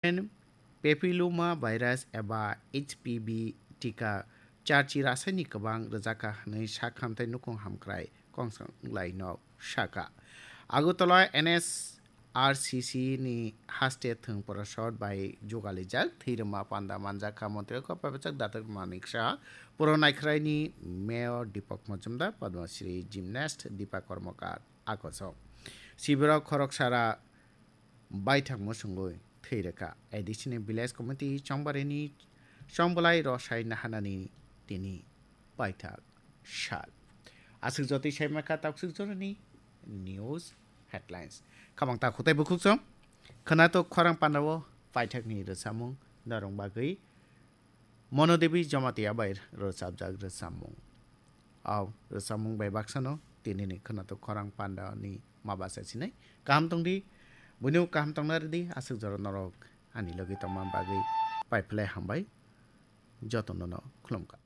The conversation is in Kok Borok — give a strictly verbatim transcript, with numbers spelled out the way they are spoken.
Human papilloma virus eba H P V tika charchi rasaini kwbang rwjakha hwnwi sak hamthai nukhung hamkrai Kongsong Laino sakha. Agartala N S R C C ni haste thwng porosot bai jugalijak thwirwma panda manjakha montri kok pabajak Datak Manik Saha, puro naikhraini mayor Deepak Majumdar, Padma Shri gymnast Deepa Karmakar akoso. Sibirok khoroksara baithang musungwi thwi rwkha. A D C ni village committee chongbarini chongbolai rosai nahanani tini paithak sal. Aswk jotwi saimakha takswk jorani news headlines. Khamang ta khutai bukhuk chong. Khwnatok khorang pandao paithakni rwchapmung norong bagwi Mono Devi Jamatia bai rwchapjak rwchapmung. Au rwchapmung bai baksano tinini khwnatok khorang pandani mabasa sinai. Kaham tongdi, buino kaham tongna rwdi, aswk jora norok ani logi tongma bagwi paiphlai hambai. Jotono no khulumkha.